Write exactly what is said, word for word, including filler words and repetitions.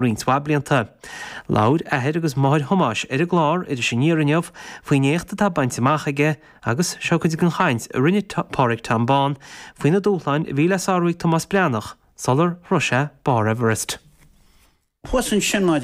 roinnt mhaith blianta. Labhair athair agus máthair Thomáis ar an gclár Iris Aniar inniu faoin éacht atá bainte amach aige agus seo cuid den chaint a rinne Pádraig Tom Bán faoi na dúshláin a bhí le sárú ag Tomás Breathnach sular shroich sé barr Everest. Thuas ansin mar